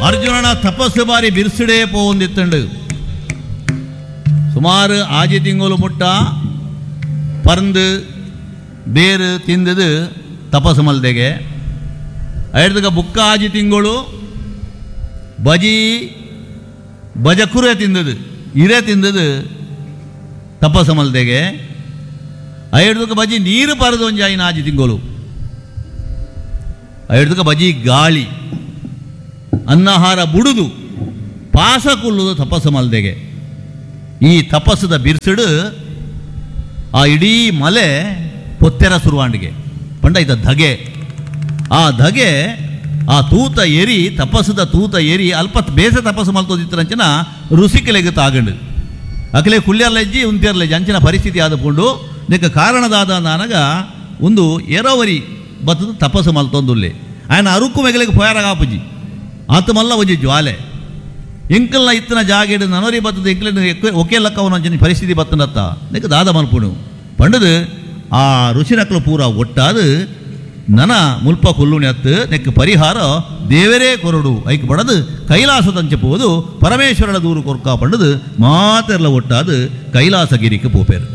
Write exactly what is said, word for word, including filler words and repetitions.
ಅರ್ಜುನನ ತಪಸ್ಸು ಬಾರಿ ಬಿರ್ಸಿಡೇ ಪೋವೊಂದಿತ್ತಂಡು. ಸುಮಾರು ಆಜಿ ತಿಂಗಳು ಮುಟ್ಟ ಪರ್ಂದು ಬೇರು ತಿಂದದು ತಪಸ್ಸು ಮಲ್ದೆಗೆ. ಐಡ್ದಗ ಬುಕ್ಕ ಆಜಿ ತಿಂಗಳು ಬಜಿ ಬಜಕುರೆ ತಿಂದದು, ಇರೆ ತಿಂದದು ತಪಸ್ಸು ಮಲ್ದೆಗೆ. ಐಡ್ದಕ ಬಜಿ ನೀರು ಪರದು ಒಂಜಾಯಿನ ಆಜಿ ತಿಂಗಳು. ಐಡ್ದಕ ಬಜಿ ಗಾಳಿ ಅನ್ನಹಾರ ಬುಡುದು ಪಾಸ ಕುಲ್ಲುದು ತಪಸ್ಸು ಮಲ್ದೆಗೆ. ಈ ತಪಸ್ಸದ ಬಿರ್ಸಿಡು ಆ ಇಡೀ ಮಲೆ ಪೊತ್ತೆರ ಸುರುವಾಂಡಿಗೆ ಪಂಡ ಇದ ಧಗೆ. ಆ ಧಗೆ ಆ ತೂತ ಎರಿ, ತಪಸ್ಸದ ತೂತ ಎರಿ ಅಲ್ಪ ಬೇಸ ತಪಸ್ಸು ಮಲ್ತೋದಿತ್ತರಂಚಿನ ರುಸಿಕಲೆಗೆ ತಾಗಂಡು ಅಕಲೆ ಕುಳ್ಳ್ಯರ್ಲೆಜ್ಜಿ ಉಂತಿಯರ್ಲೆಜ್ಜಿ ಅಂಚಿನ ಪರಿಸ್ಥಿತಿ ಆದಪುಂಡು. ನಿಕ್ಕ ಕಾರಣದಾದ ನಾನಗ ಒಂದು ಎರವರಿ ಬತ್ತದ ತಪಸ್ಸು ಮಲ್ತೊಂದುಲ್ಲೆ ಆಯನ ಅರುಕು ಮೆಗಲಿಗೆ ಪೋಯಾರ ಆಪುಜಿ ಆತ ಮಲ್ಲ ಒಂಜಿ ಜ್ವಾಲೆ ಎಂಕಲ್ನ ಇತ್ತನ ಜಾಗೆಡು ನನರಿ ಬತ್ತದ ಎಂಕಲಿನ ಒಕೆ ಲಕ್ಕವನ ಅಂಚಿನ ಪರಿಸ್ಥಿತಿ ಬತ್ತನತ್ತ ನಿಕ್ಕ ದಾದ ಮಲ್ಪುಣು ಪಂಡದು ಆ ಋಷಿನಕ್ಲು ಪೂರ ಒಟ್ಟಾದು ನನ ಮುಲ್ಪ ಕೊಲ್ಲುಣಿ ಅತ್ತು ನೆಕ್ ಪರಿಹಾರ ದೇವರೇ ಕೊರಡು ಐಕ್ ಬಡದು ಕೈಲಾಸದಂಚೆ ಪೋದು ಪರಮೇಶ್ವರನ ದೂರು ಕೊರ್ಕ ಪಂಡದು ಮಾತೆರ್ಲ ಒಟ್ಟಾದು ಕೈಲಾಸಗಿರಿக்கு ಪೋಪೇರು.